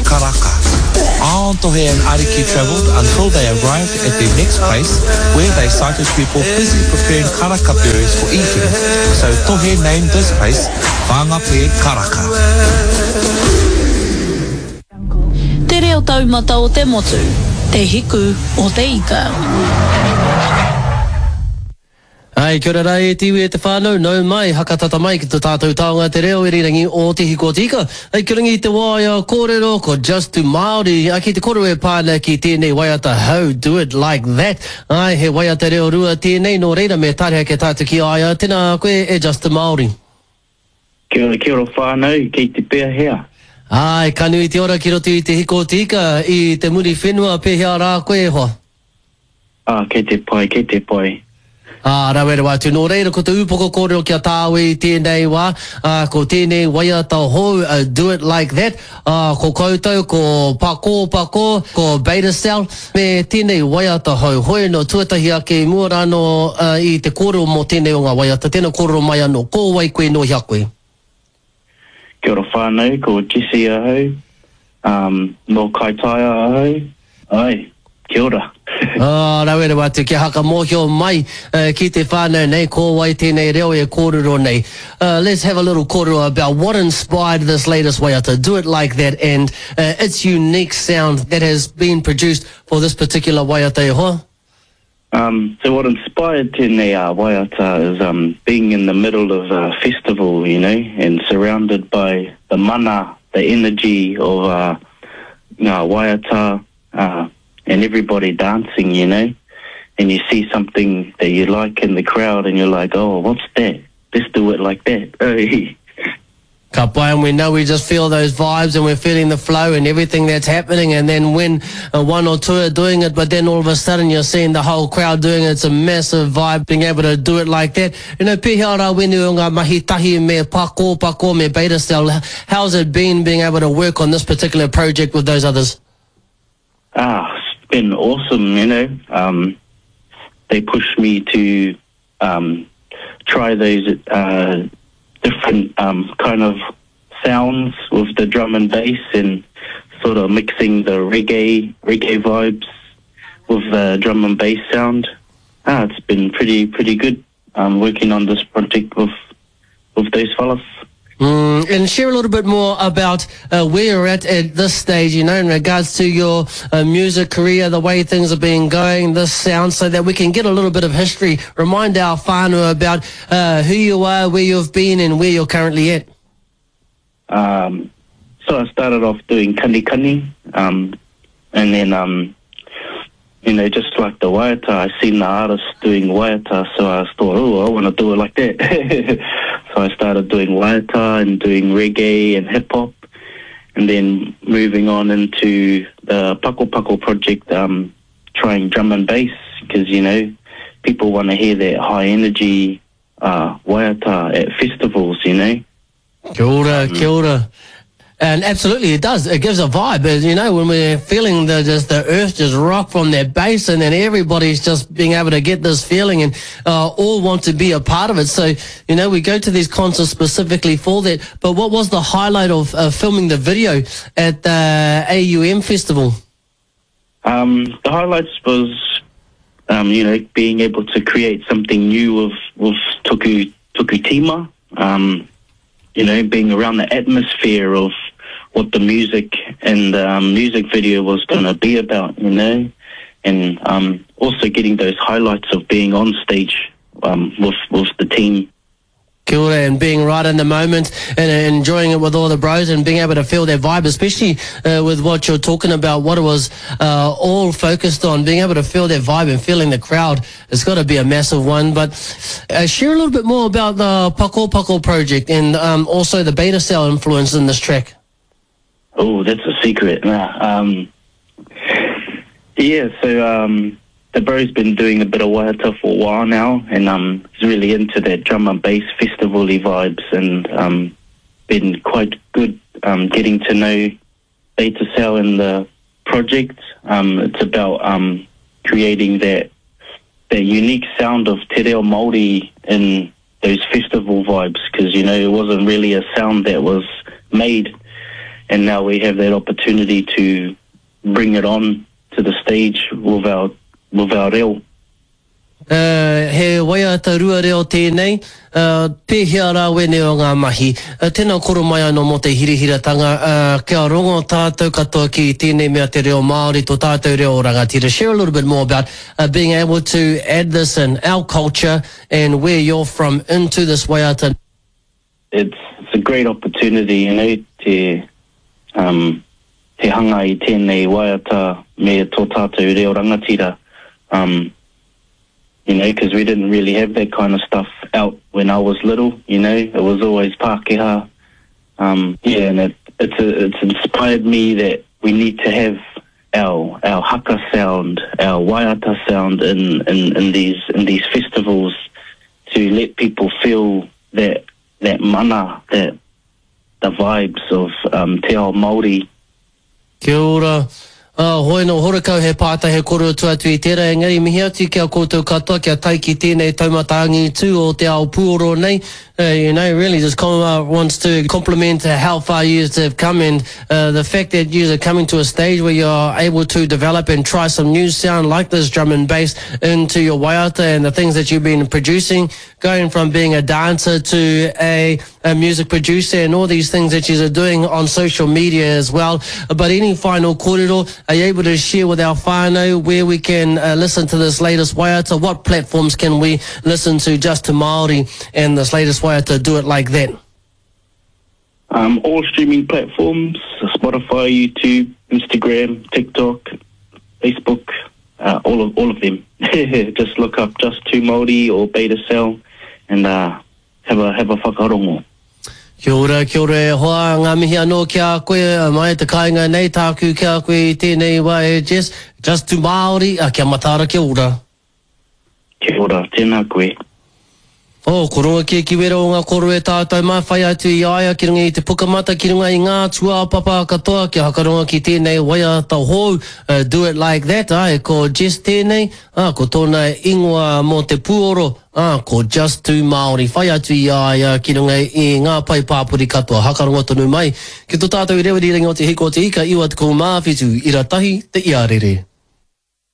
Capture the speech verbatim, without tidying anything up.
Karaka. On Tohe and Ariki travelled until they arrived at their next place where they sighted people busy preparing karaka berries for eating. So Tohe named this place Whangape Karaka. Te reo taumata o te motu, te hiku o te ika. Ai, kia ora rā e te iwi e te whānau, nau mai, hakatata mai ki to tātou taonga te reo irirangi o Te Hiku o Te Ika. Ai, kia rangi te waea kōrero ko Just to Māori, a ki te kōrero e pā ana ki tēnei waiata How Do It Like That. Ai, he waiata reo rua tēnei, nō reira me tareha ke tātou ki a ia, tēnā koe e Just to Māori. Kia ora, kia ora whānau, kei te pēhea? Ai, ka nui te ora ki roto i Te Hiku o Te Ika, i te Muriwhenua, pēhea rā koe e hoa? Ah, kei te pai, kei te pai. Ā, rawe rawa atu. Nō reira, ko te upoko kōrero ki a tāua i tēnei wā, ā, ko tēnei waiata hou, a Do It Like That, ā, ko koutou, ko Pakō Pakō, ko Beta Cell, me tēnei waiata hou. Hoi anō, tuatahi ake i mua rānō i te kōrero mō tēnei o ngā waiata, tēnā kōrero mai anō, ko wai koe, nō hea koe? Kia ora whānau, ko Jesse ahau, um, nō Kaitaia ahau, ai, kia ora. Oh, rawe rawa atu, kia hakamōhio mai uh, ki te whānau nei, ko wai tēnei reo e kōrero nei. Uh, let's have a little kōrero about what inspired this latest waiata, Do It Like That, and uh, its unique sound that has been produced for this particular waiata e hoa. Um, so what inspired tēnei uh, waiata is um, being in the middle of a festival, you know, and surrounded by the mana, the energy of uh, ngā waiata, uh, and everybody dancing, you know, and you see something that you like in the crowd and you're like, oh, what's that? Let's do it like that. Ka pai, and we know we just feel those vibes and we're feeling the flow and everything that's happening, and then when uh, one or two are doing it, but then all of a sudden you're seeing the whole crowd doing it. It's a massive vibe being able to do it like that. You know, pēhea rā wenu o ngā mahi tahi me Pakō Pakō me Beta Cell, how's it been being able to work on this particular project with those others? Ah, it's been awesome, you know. Um, they pushed me to um, try those uh, different um, kind of sounds with the drum and bass and sort of mixing the reggae reggae vibes with the drum and bass sound. Ah, it's been pretty pretty good um, working on this project with with those fellas. Mm, and share a little bit more about uh, where you're at at this stage, you know, in regards to your uh, music career, the way things have been going, this sound, so that we can get a little bit of history, remind our whānau about uh, who you are, where you've been, and where you're currently at. Um, so I started off doing kani kani, um, and then, um, you know, just like the waiata, I seen the artists doing waiata, so I thought, oh, I want to do it like that. So I started doing waiata and doing reggae and hip-hop, and then moving on into the Pako Pako project, um, trying drum and bass, because, you know, people want to hear that high-energy uh, waiata at festivals, you know. Kia ora, kia ora. And absolutely, it does. It gives a vibe. You know, when we're feeling the just the earth just rock from their base, and then everybody's just being able to get this feeling and uh, all want to be a part of it. So, you know, we go to these concerts specifically for that. But what was the highlight of uh, filming the video at the A U M Festival? Um, the highlights was, um, you know, being able to create something new with, with Toku, Toku Tima. Um, you know, being around the atmosphere of what the music and the um, music video was gonna be about, you know, and um, also getting those highlights of being on stage um, with, with the team. Kia ora, and being right in the moment and enjoying it with all the bros and being able to feel that vibe, especially uh, with what you're talking about, what it was uh, all focused on, being able to feel that vibe and feeling the crowd. It's got to be a massive one. But uh, share a little bit more about the Pako Pako project and um, also the Beta Cell influence in this track. Oh, that's a secret. Nah, um, yeah, so... Um, the bro's been doing a bit of waiata for a while now, and um, he's really into that drum and bass festival-y vibes, and um, been quite good um, getting to know Beta Cell and the project. Um, it's about um, creating that that unique sound of te reo Māori in those festival vibes, because, you know, it wasn't really a sound that was made And now we have that opportunity to bring it on to the stage with our, with our reo. Uh, he waiata rua reo tēnei, uh, pēhea rā wene o ngā mahi. Uh, tēnā koro mai anō mō te hirihiratanga, uh, kia rongo tātou katoa ki tēnei mea te reo Māori, tō tātou reo rangatira. Share a little bit more about uh, being able to add this in our culture and where you're from into this waiata. It's, it's a great opportunity, you know, te, um, te hanga i tēnei waiata me tō tātou reo rangatira. Um, you know, because we didn't really have that kind of stuff out when I was little, you know. It was always Pākehā. Um, yeah, and it, it's, a, it's inspired me that we need to have our, our haka sound, our waiata sound in, in, in, these, in these festivals to let people feel that, that mana, that the vibes of um, te ao Māori. Kia ora. Uh, hoi no horakau he pātai he koro tu atu i tērā, engari mihi atu kia koutou katoa, kia tae ki tēnei taumata angitu o te ao pūoro nei. Uh, you know, really just come, uh, wants to compliment how far you have come, and uh, the fact that you are coming to a stage where you're able to develop and try some new sound like this drum and bass into your waiata and the things that you've been producing, going from being a dancer to a, a music producer and all these things that you're doing on social media as well. But any final kōrero, are you able to share with our whānau where we can uh, listen to this latest waiata? What platforms can we listen to Just Too Māori and this latest waiata, Do It Like That? Um, all streaming platforms, Spotify, YouTube, Instagram, TikTok, Facebook, uh, all of all of them. Just look up Just Too Māori or Beta Cell and uh, have a have a whakarongo. Kia ora, kia ora e hoa, ngā mihi anō ki a koe, mai te kāinga nei tāku ki a koe i tēnei wā e Jess, Just Too Māori, a kia mataara, kia ora. Kia ora, tēnā koe. Oh, ko ronga ki ki wera o ngā koro e tātou mā, whai atu i aia ki runga i te pukamata, ki runga i ngā tūāpapa katoa, kia hakaronga ki tēnei waiata hou, uh, Do It Like That, ai, ko Jess tēnei, ah, ko tōna ingoa mō te pūoro, ah, ko Just Too Māori, whai atu i aia ki runga i ngā pai pāpori katoa, hakaronga tonu mai, ki tō tātou i rewiri rangi o te hiko o te ika, iwa te kōmāwhitu, ira tahi, te iarere.